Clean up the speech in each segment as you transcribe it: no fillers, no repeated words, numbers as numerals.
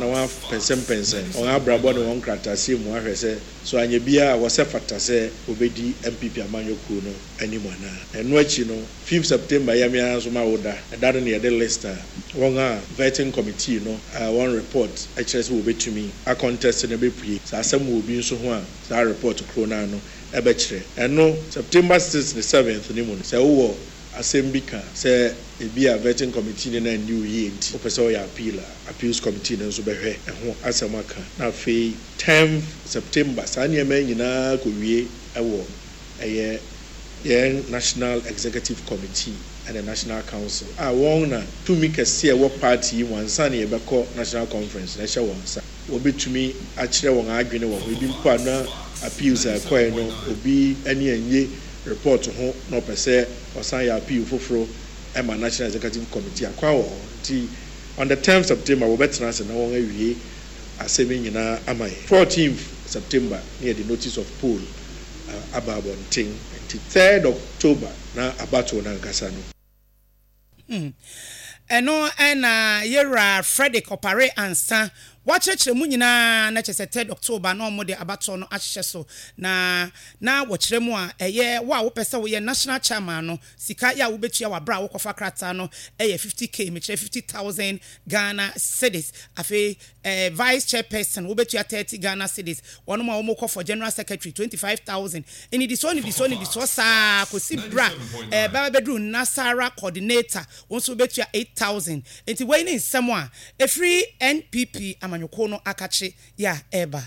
na wɔapɛnsɛmpɛnsɛn wɔn abrabɔ ne wɔn nkrataasɛm mu ahwɛ sɛ so anyɛ biara a wɔsɛ fata sɛ wɔbɛdi NPP amanyɔ kuo no anim anaa. Ɛno akyi no, fifth September yɛ me ara nso m'awoda. Ɛda no na yɛde list a wɔn a vetting committee no wɔn report kyerɛ sɛ wɔbɛtumi a contest no bɛpue. Sɛ asɛm wɔ obi nso ho a, saa report koro no ara no bɛkyerɛ. Ɛno, September sixth ne seventh no mu no, sɛ wowɔ asɛm bi ka sɛ ebia vetting committee no anni wo yie nti wopɛ sɛ woyɛ appeal a, appeals committee no nso bɛhwɛ ɛho asɛm aka. Na afei tenth September, saa nneɛma yi nyinaa kɔwie wɔ ɛyɛ yɛn National Executive Committee ne National Council a wɔn na tumi kɛse a ɛwɔ party yi mu ansa na yɛbɛkɔ National Conference no ɛhyɛ wɔn nsa. Wɔbɛtumi akyerɛ wɔn adwene wɔ ho. Ebi mpo a na appeals a ɛkɔe no obi ani annye report ho na ɔpɛ sɛ ɔsan yɛ appeal foforo ma National Executive Committee a, kwan wɔ hɔ. Nti on the tenth September wɔbɛtena ase na wɔawie asɛm yi nyinaa ama yɛn. Fourteenth September na yɛde notice of poll aba abɔnten. Nti third October na abatoɔ no ankasa no. Ɛno na Yewura Fredrick Opare Ansah wakyerɛkyerɛ mu nyinaa na kyerɛ sɛ third October na wɔde abatoɔ no ahyehyɛ so na na wɔkyerɛ mu a ɛyɛ wo a wopɛ sɛ woyɛ National Chairman no sika yɛ a wobɛtua wɔ aberɛ a wokɔfa krataa no yɛ 50K mekyerɛ 50,000 Ghana cedis afei Eh vice chairperson wobɛtua 30 Ghana cedis, wɔnom a wɔkɔ for general secretary 25,000, nnidisoɔ nnidisoɔ nnidisoɔ saa kɔsi berɛ a eh bɛba bɛduru Nasara coordinator wo nso wobɛtua 8,000. Nti wei ne nsɛm a ɛfiri NPP amanyɔkuo no akakye yɛ a ɛreba.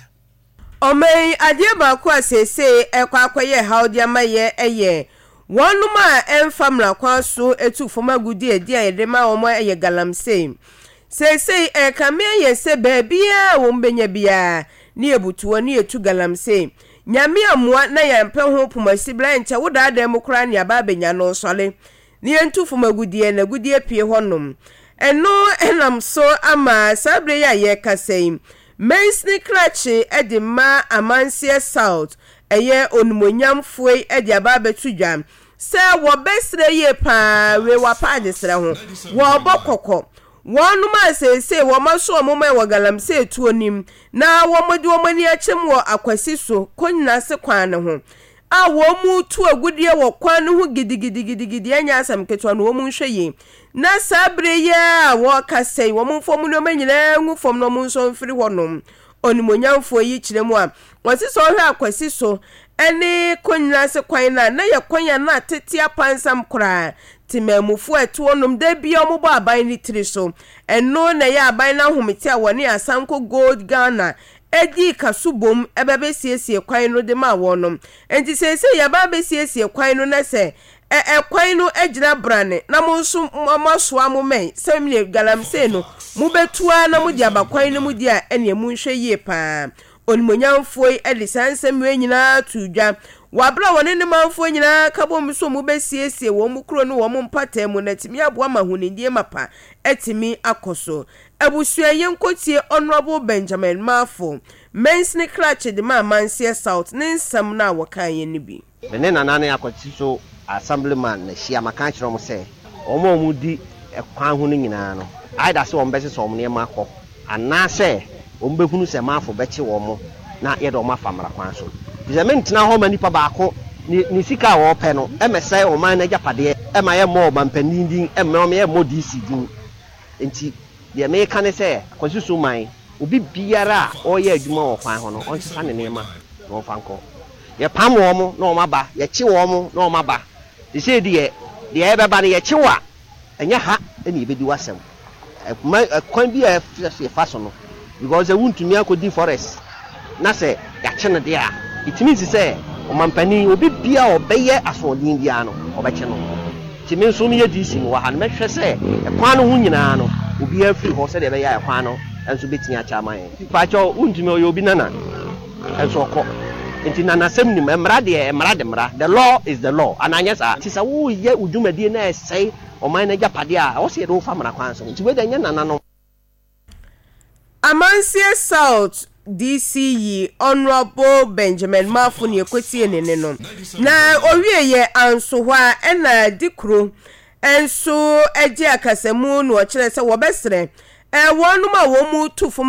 Ɔman yi adeɛ baako a seesei ɛrekɔ akɔyɛ haw de ama yɛ yɛ wɔnom a ɛmfa mmara kwan so tu fam agudeɛ a din a yɛde ma wɔn yɛ galamsey. Seesei ɛrekame ayɛ sɛ baabiara a wɔn bɛnya biara ne yɛbutu hɔ ne yɛtu galamsey. Nyame ammoa na yɛampɛ ho pomasibra ɛnkyɛ wo daadaa mu koraa ne aba abɛnya no sɔre ne yɛntu fam agudeɛ na agudeɛ pue hɔnom. Ɛno nam so ama saa berɛ yi a yɛrekasa yi Mansini krakye de ma Amanseɛ South ɛyɛ onimuonyamfoɔ yi de aba abɛto dwa sɛ wɔbɛsrɛ yie pa ara wei wapa adesrɛ ho wɔrebɔ kɔkɔ wɔnom a seesei wɔn aso wɔn man wɔ galamsey tuo nim na wɔde wɔn ani akyem wɔ Akwasi so Konyinase kwan no ho a wɔretu agudeɛ wɔ kwan no ho gidigidigidigidi ɛnyɛ asɛm ketewa no wɔn nhwɛ yie na saa berɛ yi ara a wɔrekasa yi wɔn mfa wɔn nneɛma nyinaa ngu fam na wɔn nsɔ mfiri hɔnom. Onimuonyamfoɔ yi kyerɛ mu a, wɔse sɛ ɔhwɛ Akwasi so ne Konyina ase kwan no a, na yɛ kwan a na atete apansam koraa. Temanmufoɔ a ɛte hɔnom da biara wɔbɔ aban no tiri so. Ɛno na ɛyɛ aban no ahomete a wɔne Asanko Gold Ghana dii kaso bom ba bɛsiesie kwan no de maa wɔnom. Enti seesei yɛaba abɛsiesie kwan no na sɛ ɛ ɛ kwan no agyina brane na mo nso moasoa mo mmɛn sɛdeɛ galamsey no mobɛtu ara na mode aba kwan no mu deɛ a, ɛnneɛ monhwɛ yie pa ara. Onimuonyamfoɔ yi de saa nsɛm wei nyinaa too dwa wɔ aberɛ a wɔne ne manfoɔ nyinaa ka bom sɛ wɔbɛsiesie wɔn kuro ne wɔn mpataa mu na atumi aboa ma ahonidie mapa atumi akɔ so. Abusua yɛnkɔtie Honourable Benjamin Marfo, Mansini Krakye de ma Amanseɛ South ne nsɛm no a wɔkaeɛ no bi. Me ne Nana ne Akwati so Assemblyman na ahyia, maka akyerɛ wɔn sɛ wɔn a wɔdi kwan ho no nyinaa no, either sɛ wɔbɛsesa wɔn nneɛma akɔ anaasɛ wɔbɛhunu sɛ Marfo bɛkye wɔn na yɛde wɔn afa mmara kwan so. Efisɛ mentena hɔ mma nipa baako ne ne sika a ɔrepɛ no mmɛsɛe ɔman no agyapadeɛ mma yɛmmɔ ɔmampanin din, mma yɛmmɔ DC din. Enti deɛ mereka ne sɛ, Kwasi Suman, obi biara a ɔreyɛ adwuma wɔ kwan ho no, ɔnsesa ne nneɛma na ɔmfa nkɔ. Yɛpam wɔn na wɔaba, yɛkye wɔn na wɔaba. Seesei deɛ, deɛ ɛrebɛba no, yɛkye wo a, ɛnyɛ ha na yɛbɛdi w'asɛm. Ɛma kwan bi a ɛsɛ sɛ yɛfa so no, because sɛ wontumi akɔdi forest na sɛ yɛakye no deɛ a, it means sɛ ɔmampanin, obi biara a ɔbɛyɛ asoɔden biara no, ɔbɛkye no. Nti me nso meyɛ DC mewɔ ha no, mɛhwɛ sɛ ɛkwan no ho nyinaa no, obiara firi hɔ sɛdeɛ ɛbɛyɛ a ɛkwan no nso bɛtumi akyɛ ama yɛn. Mpakyɛw, wontumi, ɔyɛ obi nana nso ɔkɔ. Nti nanasɛm nim. Mmara deɛ, mmara de mmara. The law is the law. Anaa anyɛ saa? Nti sɛ woreyɛ wo dwumadie na ɛsɛe ɔman no agyapadeɛ a, ɛwɔ sɛ yɛde wo fa mmara kwan so. Nti wei deɛ ɛnyɛ nananom. Amansie South DC yi Honourable Benjamin Marfo na yɛkɔtiee ne nne no. Na ɔwieeɛ anso hɔ a ɛna Dikuro nso gyee akasamu na ɔkyerɛɛ sɛ wɔbɛsrɛ wɔnom a wɔn tu fam.